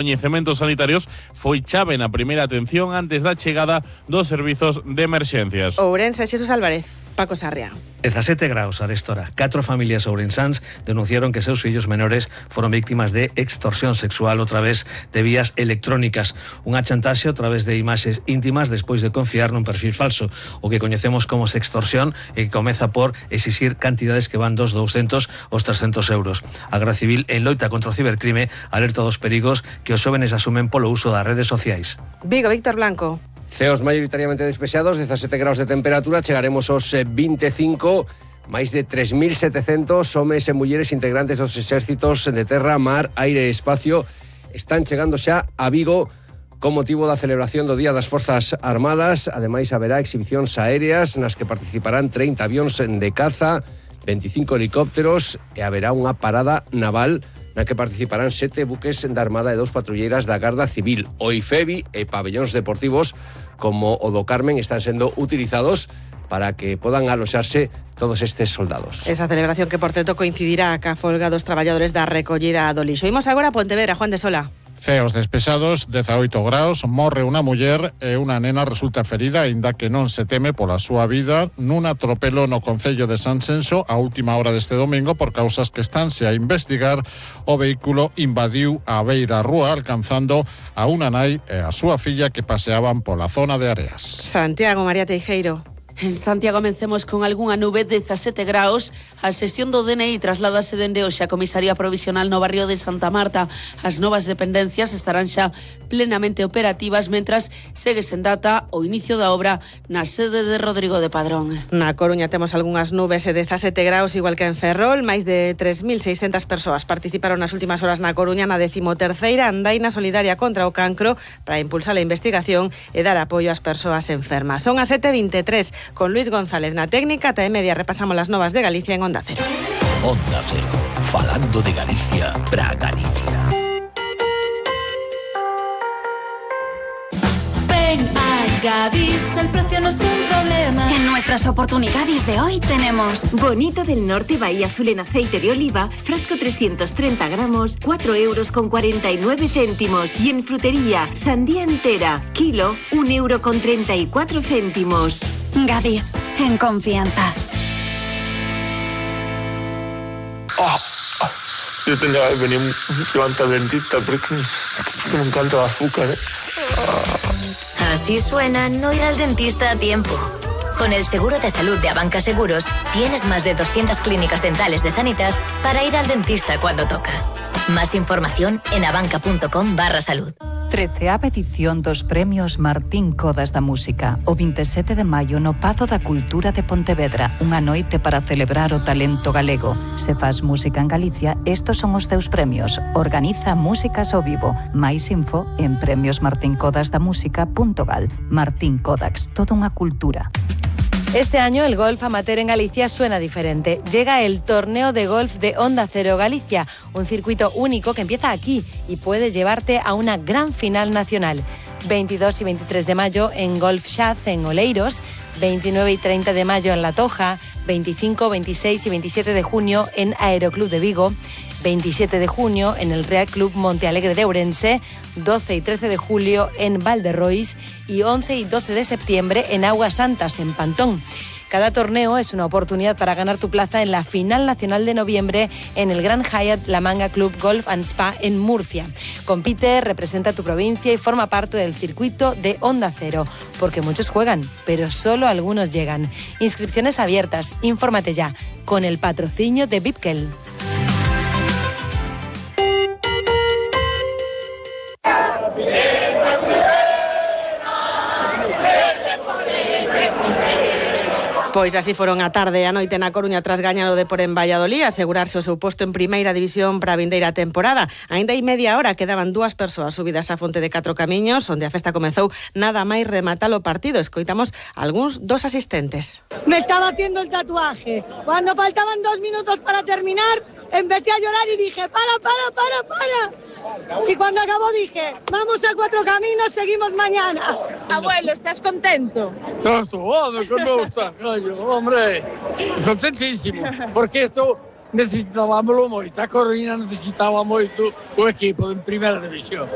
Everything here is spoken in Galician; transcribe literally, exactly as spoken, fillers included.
coñecementos sanitarios foi chave na primeira atención antes da chegada dos servizos de emerxencias. Ourense, Xesús Álvarez, Paco Sarria. dezasete graus arestora. Catro familias ourensáns denunciaron que seus fillos menores foron víctimas de extorsión sexual a través de vías electrónicas. Unha chantaxe a través de imaxes íntimas despois de confiar nun perfil falso, o que coñecemos como sextorsión e que comeza por exixir cantidades que van dos douscentos aos trescentos euros. A Garda Civil, en loita contra o cibercrime, alerta dos perigos que os xóvenes asumen polo uso das redes sociais. Vigo, Víctor Blanco. Ceos maioritariamente despexados, dezasete graus de temperatura, chegaremos aos vinte e cinco, máis de tres mil setecentos homes e mulleres integrantes dos exércitos de terra, mar, aire e espacio están chegando xa a Vigo con motivo da celebración do Día das Forzas Armadas. Ademais, haberá exhibicións aéreas nas que participarán trinta avións de caza, veinticinco helicópteros e haberá unha parada naval na que participarán sete buques da Armada e dous patrulleiras da Garda Civil. O IFEBI e pabellóns deportivos como o do Carmen están sendo utilizados para que podan aloxarse todos estes soldados. Esa celebración que, por tanto, coincidirá ca folga dos traballadores da recollida do lixo. Imos agora a Pontevedra, Juan de Sola. Ceos despexados, dezaoito graus, morre unha muller e unha nena resulta ferida, aínda que non se teme pola súa vida, nun atropelo no concello de Sanxenxo a última hora deste domingo por causas que estanse a investigar. O vehículo invadiu a beira rúa, alcanzando a unha nai e a súa filla que paseaban pola zona de Areas. Santiago, María Teijeiro. En Santiago comencemos con algunha nube, dezasete graus. A sesión do D N I trasládase dende hoxe a comisaría provisional no barrio de Santa Marta. As novas dependencias estarán xa plenamente operativas, mentras segue sen data o inicio da obra na sede de Rodrigo de Padrón. Na Coruña temos algunhas nubes e dezasete graus, igual que en Ferrol. Máis de tres mil seiscentas persoas participaron nas últimas horas na Coruña na decimoterceira andaina solidaria contra o cancro para impulsar a investigación e dar apoio ás persoas enfermas. Son as sete e vinte e tres. Con Luis González na técnica, ata e media repasamos las novas de Galicia en Onda Cero. Onda Cero, falando de Galicia para Galicia. Ven a Gadis, el precio no es un problema. En nuestras oportunidades de hoy tenemos Bonito del Norte Bahía Azul en aceite de oliva, frasco trescientos treinta gramos, cuatro euros con cuarenta y nueve céntimos. Y en frutería, sandía entera, kilo, un euro con treinta y cuatro céntimos. Gadis, en confianza. Oh, yo tendría que venir antes al dentista porque, porque me encanta el azúcar, ¿eh? Así suena no ir al dentista a tiempo. Con el seguro de salud de Abanca Seguros, tienes más de doscientas clínicas dentales de Sanitas para ir al dentista cuando toca. Más información en abanca.com barra salud. treceava edición dos Premios Martín Codas da Música, o vinte e sete de maio no Pazo da Cultura de Pontevedra, unha noite para celebrar o talento galego. Se faz música en Galicia, estos son os teus premios. Organiza Músicas ao Vivo. Mais info en premios martin codas da música punto gal. Martín Codax, toda unha cultura. Este año el golf amateur en Galicia suena diferente. Llega el torneo de golf de Onda Cero Galicia, un circuito único que empieza aquí y puede llevarte a una gran final nacional. veintidós y veintitrés de mayo en Golf Shaz en Oleiros, veintinueve y treinta de mayo en La Toja, veinticinco, veintiséis y veintisiete de junio en Aeroclub de Vigo, veintisiete de junio en el Real Club Monte Alegre de Ourense, doce y trece de julio en Valderrois y once y doce de septiembre en Aguas Santas, en Pantón. Cada torneo es una oportunidad para ganar tu plaza en la final nacional de noviembre en el Gran Hyatt La Manga Club Golf and Spa en Murcia. Compite, representa tu provincia y forma parte del circuito de Onda Cero, porque muchos juegan, pero solo algunos llegan. Inscripciones abiertas, infórmate ya, con el patrocinio de Bipkel. Pois así foron a tarde e a noite na Coruña tras gañar o Depor en Valladolid, asegurarse o seu posto en primeira división para a vindeira temporada. Ainda hai media hora quedaban dúas persoas subidas á fonte de Catro Camiños, onde a festa comezou nada máis rematar o partido. Escoitamos algúns dos asistentes. Me estaba haciendo el tatuaje. Cuando faltaban dos minutos para terminar, empecé a llorar y dije, para, para, para, para. Y cuando acabó dije, vamos a Cuatro Caminos, seguimos mañana. Abuelo, ¿estás contento? No, hombre, que me gusta, coño, hombre, contentísimo, porque esto necesitábamos moito, a Coruña necesitaba moito o equipo en primeira división.